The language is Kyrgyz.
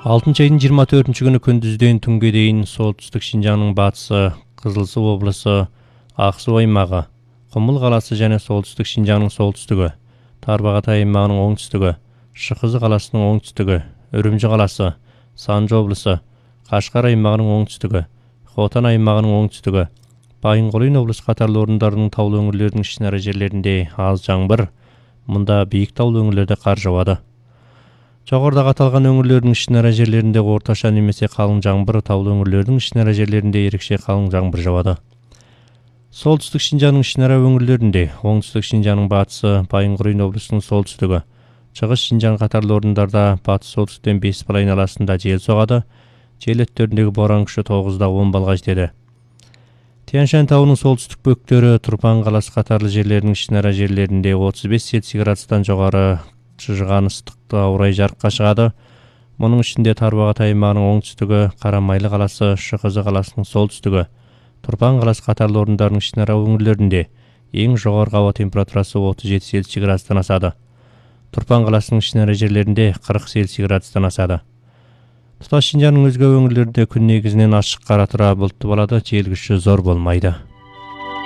6-айдын 24-күнү күндүздөн түнгө дейин солтүстүк Шинжаңдын батысы, Кызыл Суу облусу, Ак Суу аймагы, Кумул калаасы жана солтүстүк Шинжаңдын солтүстүгү, Тарбагатай аймагынын оңтүстүгү, Шыкызы каласынын оңтүстүгү, Үрүмчү калаасы, Санжы облусу, Кашкар аймагынын оңтүстүгү, Хотан аймагынын оңтүстүгү, Байынгулин облусу катарлуу орундардын таулуу өңүрлөрүнүн ичинара жерлеринде аз жаңбыр, мында бийик таулуу өңүрлөрдө кар жаабады. Жогоруда аталган өңүрлөрдүн ичинара жерлеринде орточо немесе калың жаңбыр, таулуу өңүрлөрдүн ичинара жерлеринде эрикче калың жаңбыр жаабады. Солтүстүк Шинжаңдын ичинара өңүрлөрүндө, оңтүстүк Шинжаңдын батысы, Байынгулин облусунун солтүстүгү, Чыгыш Шинжаң катарлуу орундарда батыс солтүстүктөн 5 айналасында жел согады, жел өттөрүндөгү боорон күчү 9-10 балга жетеди. Тянь-Шань тауынын солтүстүк бөктөрү, Турпан калаасы катарлуу жерлердин ичинара жерлеринде 35 Цельсий градустан жогору чыжыган ыстыкта урай жарыкка чыгады. Мунун ичинде Тарбагатай аймагынын оңтүстүгү, Карамайлы калаасы, Шыкызы каласынын солтүстүгү, Турпан калаасы катарлуу орундардын ичинара өңүрлөрүндө эң жогорку аба температурасы 37 Цельсий градустан асады. Турпан каласынын ичинара жерлеринде 40 Цельсий градустан асады. Туташ Шинжаңдын өзгө өңүрлөрүндө күн негизинен ачык кара тура булуттуу болот, жел күчү зор болмойт.